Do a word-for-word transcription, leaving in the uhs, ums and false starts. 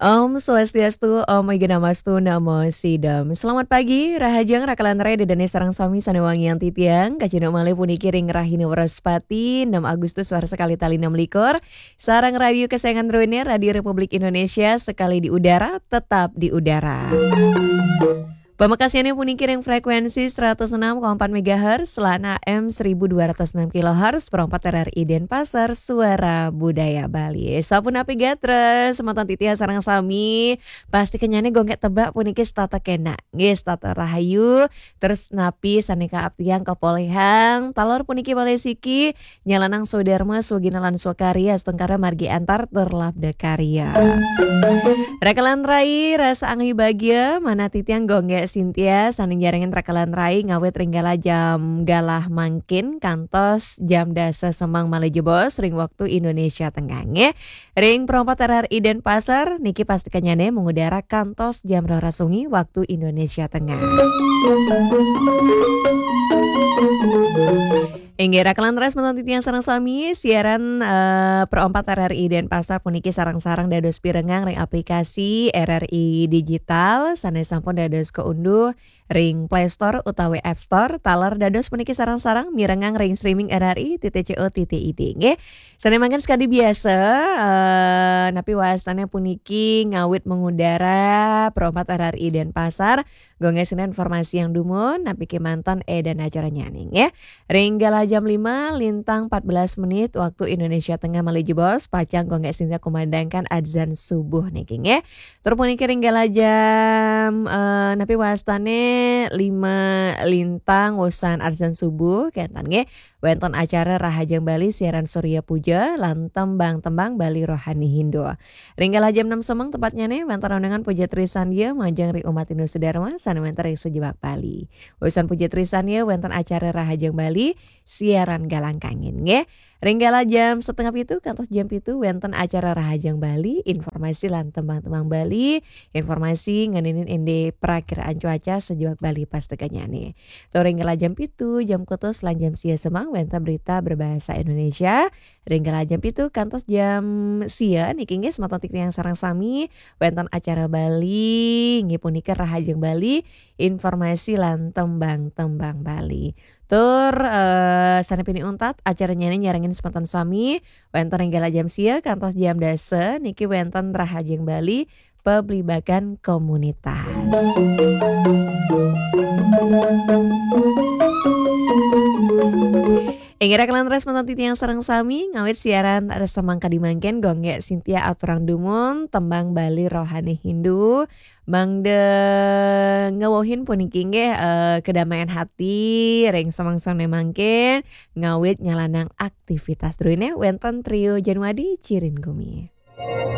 Om Swastiastu, Om Awighnamastu, Namo Siddham. Selamat pagi, rahajeng rakalan rai dedane sareng sami sane wangiang titiang, kacunduk malih puniki ring rahina Wraspati, enam Agustus warsa kalih tali enam likur, sareng radio kesayangan druene, Radio Republik Indonesia, sekali di udara, tetap di udara. Pamekasnyane puniki ring frekuensi seratus enam koma empat megahertz lan A M seribu dua ratus enam kilohertz, Pro empat R R I Denpasar, Suara Budaya Bali. Sapunapi gatra, semeton titiang sareng sami, pasti kenyane gongkek tebak puniki setata kenak. Nggih, setata rahayu, terus napi sane kaaptiang kapolihang, taler puniki malih siki, nyalanang swadarma, swagina lan swakarya, astungkara margi antar tur labda karya. Rakalan rai, rasa anggi bagia, manah titiang Gonggek Sintia, sane nyarengin rakalan rai ngawit ring galah jam galah mangkin, kantos jam dasa semeng malih jebos ring waktu Indonesia Tengah, nggih. Ring Pro empat R R I Denpasar, niki pasti kenyane mengudara kantos jam roras wengi waktu Indonesia Tengah. Inggih, rakalan rai semeton titiang sareng sami, siaran, eh, Pro empat R R I Denpasar puniki sareng-sareng dados pirengang ring aplikasi R R I Digital, sane sampun dados kaunduh ring Play Store utawi App Store, taler dados puniki sareng-sareng mirengang ring streaming R R I titik co titik I D, nggih. Sane mangkin sakadi biasa, eh, napi wastane puniki ngawit mengudara Pro empat R R I Denpasar, Gonggek Sintia informasi yang dumun, napi kemanten edan acara nyaning, ya. Ring galah jam lima lintang empat belas menit waktu Indonesia Tengah malih jebos, pacang Gonggek Sintia kumandangkan adzan subuh niki, nggih. Tur puniki ring galah jam, eh, napi wastane lima lintang wusan adzan subuh, kenten, nggih. Wenten acara Rahajeng Bali siaran Surya Puja lan tembang-tembang Bali Rohani Hindu. Ring galah jam enam semeng tepatnyane wenten undangan Puja Trisandya majeng ring umat Hindu sedharma sane wenten ring sajebag Bali. Wusan Puja Trisandya wenten acara Rahajeng Bali siaran Galang Kangin, nggih. Ring galah jam setengah pitu kantos jam pitu wenten acara Rahajeng Bali, informasi lan tembang-tembang Bali, informasi ngeninin indik prakiraan cuaca sajebag Bali pas tekenyane. Tur ring galah jam pitu, jam kutus lan jam sia semeng wenten berita berbahasa Indonesia. Ring galah jam pitu kantos jam sia niki, nggih, semeton titiang sareng sami wenten acara Bali, nggih, punika Rahajeng Bali, informasi lan tembang-tembang Bali. Tur, eh, sane pinih untat, acaranyane nyarengin semeton sami, wenten ring galah jam sia kantos jam dasa, niki wenten Rahajeng Bali, Pablibakan Komunitas. Inggih rakalan rai semeton titiang sareng sami, ngawit siaran res semangkadi mangkin, Gonggek Sintia aturang dumun tembang Bali Rohani Hindu, mangda ngewohin puniki, nggih, eh, kedamaian hati ring semeng-semeng mangkin, ngawit nyalanang aktivitas druene wenten Trio Januadi Cirin Gumi.